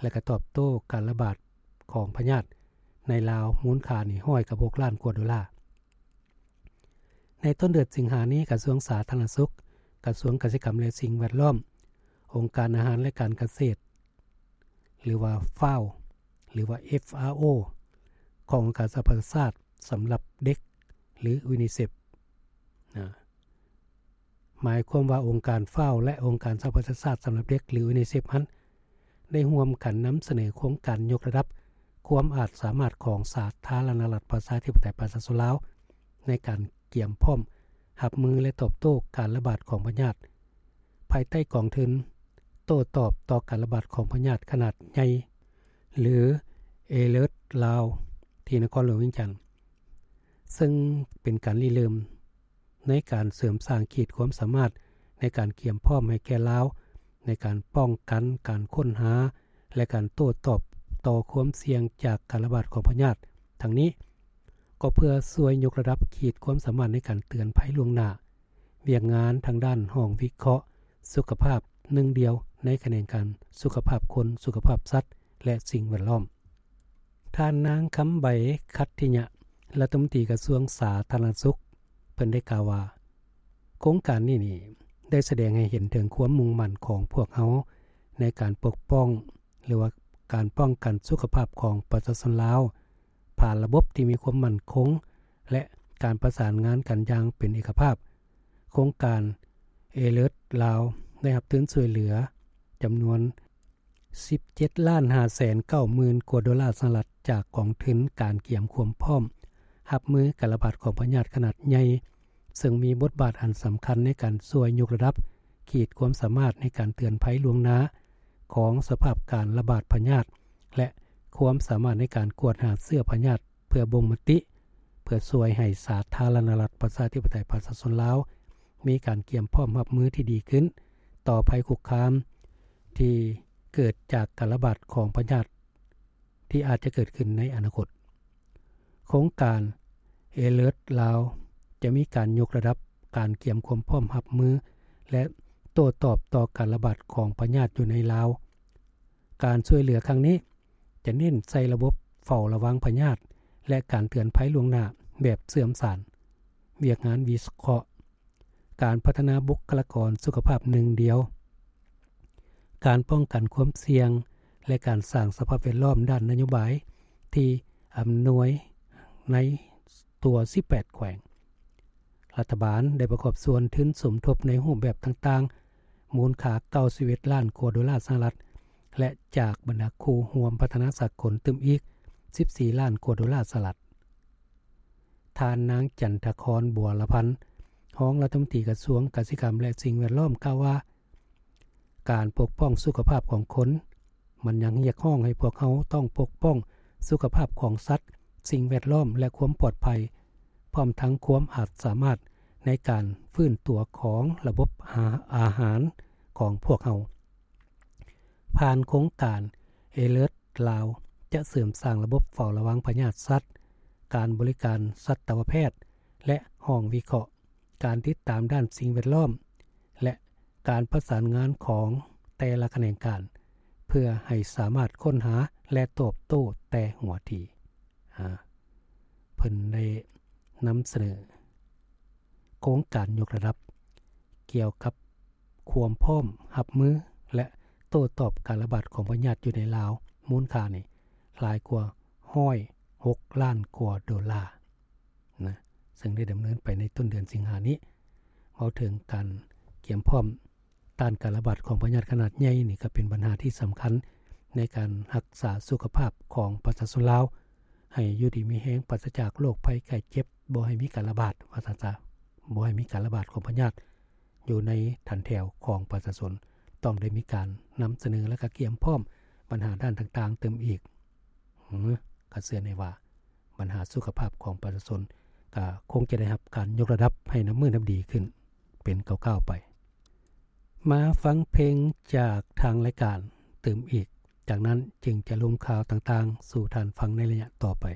ແລະ ກໍຕອບໂຕ້ການລະບາດຂອງພະຍາດໃນລາວ ມູນຄ່ານີ້ຮ້ອຍກັບຫົກລ້ານກວ່າໂດລາ. ໃນຕົ້ນເດືອນສິງຫານີ້ ກະຊວງສາທາລະນະສຸກ, ກະຊວງກະສິກຳ ແລະ ສິ່ງແວດລ້ອມ, ອົງການອາຫານ ແລະ ການກະເສດ ຫຼືວ່າ FAO ຫຼືວ່າ FAO ຂອງອົງການສະຫະປະຊາຊາດສຳລັບເດັກ ຫຼື UNICEF ນະ ໝາຍຄວາມວ່າອົງການ FAO ແລະ ອົງການສະຫະປະຊາຊາດສຳລັບເດັກ ຫຼື UNICEF ຫັ້ນ ໄດ້ຮ່ວມກັນນຳສະເໜີໂຄງການຍົກລະດັບຄວາມອາດສາມາດຂອງສາທາລະນະລັດປະຊາທິປະໄຕປະຊາຊົນລາວ ໃນການກຽມພ້ອມຮັບມື ແລະ ຕອບໂຕ້ການລະບາດຂອງພະຍາດ ພາຍໃຕ້ກອງທຶນໂຕ້ຕອບຕໍ່ການລະບາດຂອງພະຍາດຂະໜາດໃຫຍ່ ຫຼື Alert ລາວ ທີ່ນະຄອນຫຼວງວຽງຈັນ, ເຊິ່ງເປັນການລິເລີ່ມໃນການເສີມສ້າງຂີດຄວາມສາມາດໃນການກຽມພ້ອມໃຫ້ແກ່ລາວ ໃນການປ້ອງກັນ, ການຄົ້ນຫາ ແລະ ການໂຕ້ຕອບຕໍ່ຄວາມສ່ຽງຈາກການລະບາດຂອງພະຍາດ. ທັງນີ້ກໍເພື່ອຊ່ວຍຍົກລະດັບຂີດຄວາມສາມາດໃນການເຕືອນໄພລ່ວງໜ້າ, ວຽກງານທາງດ້ານຫ້ອງວິເຄາະສຸຂະພາບໜຶ່ງດຽວໃນຂະແໜງການສຸຂະພາບຄົນ, ສຸຂະພາບສັດ ແລະ ສິ່ງແວດລ້ອມ. ທ່ານນາງ ຄຳໃບ ຂັດທິຍະ ລັດຖະມົນຕີກະຊວງສາທາລະນະສຸກ ເພິ່ນໄດ້ກ່າວວ່າ ໂຄງການນີ້ນີ້ໄດ້ສະແດງໃຫ້ເຫັນເຖິງຄວາມມຸ່ງໝັ້ນຂອງພວກເຮົາໃນການປົກປ້ອງ ຫຼືວ່າການປ້ອງກັນສຸຂະພາບຂອງປະຊາຊົນລາວ ຜ່ານລະບົບທີ່ມີຄວາມໝັ້ນຄົງ ແລະ ການປະສານງານກັນຢ່າງເປັນເອກະພາບ. ໂຄງການ Alert ລາວ ໄດ້ຮັບທຶນຊ່ວຍເຫຼືອຈຳນວນສິບເຈັດລ້ານຫ້າແສນເກົ້າໝື່ນກວ່າໂດລາສະຫະລັດ ຈາກກອງທຶນການກຽມຄວາມພ້ອມຮັບມືການລະບາດຂອງພະຍາດຂະໜາດໃຫຍ່ ເຊິ່ງມີບົດບາດອັນສຳຄັນໃນການຊ່ວຍຍົກລະດັບຂີດຄວາມສາມາດໃນການເຕືອນໄພລ່ວງໜ້າຂອງສະພາບການລະບາດພະຍາດ ແລະ ຄວາມສາມາດໃນການກວດຫາເຊື້ອພະຍາດ ເພື່ອບົ່ງມະຕິ ເພື່ອຊ່ວຍໃຫ້ສາທາລະນະລັດປະຊາທິປະໄຕປະຊາຊົນລາວ ມີການກຽມພ້ອມຮັບມືທີ່ດີຂຶ້ນຕໍ່ໄພຄຸກຄາມທີ່ເກີດຈາກການລະບາດຂອງພະຍາດທີ່ອາດຈະເກີດຂຶ້ນໃນອະນາຄົດ. ໂຄງການ Alert ລາວ ຈະມີການຍົກລະດັບການກຽມຄວາມພ້ອມຮັບມື ແລະ ໂຕ້ຕອບຕໍ່ການລະບາດຂອງພະຍາດຢູ່ໃນລາວ. ການຊ່ວຍເຫຼືອຄັ້ງນີ້ຈະເນັ້ນໃສ່ລະບົບເຝົ້າລະວັງພະຍາດ ແລະ ການເຕືອນໄພລ່ວງໜ້າແບບເຊື່ອມສານ, ວຽກງານວິເຄາະ, ການພັດທະນາບຸກຄະລາກອນສຸຂະພາບໜຶ່ງດຽວ, ການປ້ອງກັນຄວາມສ່ຽງ ແລະ ການສ້າງສະພາບແວດລ້ອມດ້ານນະໂຍບາຍທີ່ອຳນວຍໃນທົ່ວສິບແປດແຂວງ. ລັດຖະບານໄດ້ປະກອບສ່ວນທຶນສົມທົບໃນຮູບແບບຕ່າງໆ ມູນຄ່າເກົ້າສິບເອັດລ້ານກວ່າໂດລາສະຫະລັດ ແລະ ຈາກບັນດາຄູ່ຮ່ວມພັດທະນາສາກົນຕື່ມອີກສິບສີ່ລ້ານກວ່າໂດລາສະຫະລັດ. ທ່ານນາງ ຈັນທະຄອນ ບົວລະພັນ ຮອງລັດຖະມົນຕີກະຊວງກະສິກຳ ແລະ ສິ່ງແວດລ້ອມ ກ່າວວ່າ ການປົກປ້ອງສຸຂະພາບຂອງຄົນ ມັນຍັງຮຽກຮ້ອງໃຫ້ພວກເຮົາຕ້ອງປົກປ້ອງສຸຂະພາບຂອງສັດ, ສິ່ງແວດລ້ອມ ແລະ ຄວາມປອດໄພ, ພ້ອມທັງຄວາມອາດສາມາດໃນການຟື້ນຕົວຂອງລະບົບອາ ອາຫານຂອງພວກເຮົາ. ຜ່ານໂຄງການ Alert ລາວ ຈະເສີມສ້າງລະບົບເຝົ້າລະວັງພະຍາດສັດ, ການບໍລິການສັດຕະວະແພດ ແລະ ຫ້ອງວິເຄາະ, ການຕິດຕາມດ້ານສິ່ງແວດລ້ອມ ແລະ ການປະສານງານຂອງແຕ່ລະຂະແໜງການ ເພື່ອໃຫ້ສາມາດຄົ້ນຫາ ແລະ ຕອບໂຕ້ແຕ່ຫົວທີ. ອາ ເພິ່ນໄດ້ນຳສະເໜີໂຄງການຍົກລະດັບກ່ຽວກັບຄວາມພ້ອມຮັບມື ແລະ ໂຕ້ຕອບການລະບາດຂອງພະຍາດຢູ່ໃນລາວ ມູນຄ່ານີ້ຫຼາຍກວ່າຮ້ອຍຫົກລ້ານກວ່າໂດລານະ ເຊິ່ງໄດ້ດຳເນີນໄປໃນຕົ້ນເດືອນສິງຫານີ້. ເວົ້າເຖິງການກຽມພ້ອມ ຕ້ານການລະບາດຂອງພະຍາດຂະໜາດໃຫຍ່ນີ້ ກໍເປັນບັນຫາທີ່ສຳຄັນໃນການຮັກສາສຸຂະພາບຂອງປະຊາຊົນລາວ ໃຫ້ຢູ່ດີມີແຮງ ປາສະຈາກໂລກໄພໄຂ້ເຈັບ, ບໍ່ໃຫ້ມີການລະບາດ ວ່າຊັ້ນຊະ, ບໍ່ໃຫ້ມີການລະບາດຂອງພະຍາດຢູ່ໃນຖັນແຖວຂອງປະຊາຊົນ. ຕ້ອງໄດ້ມີການນຳສະເໜີ ແລະ ກະກຽມພ້ອມບັນຫາດ້ານຕ່າງໆຕື່ມອີກ. ເອີ ກໍເຊື່ອແນ່ວ່າບັນຫາສຸຂະພາບຂອງປະຊາຊົນ ກໍຄົງຈະໄດ້ຮັບການຍົກລະດັບໃຫ້ນັບມື້ນັບດີຂຶ້ນເປັນກ້າວໆໄປ. ມາຟັງເພງຈາກທາງລາຍການຕື່ມອີກ, ຈາກນັ້ນຈຶ່ງຈະລົງຂ່າວຕ່າງໆສູ່ທ່ານຟັງໃນໄລຍະຕໍ່ໄປ.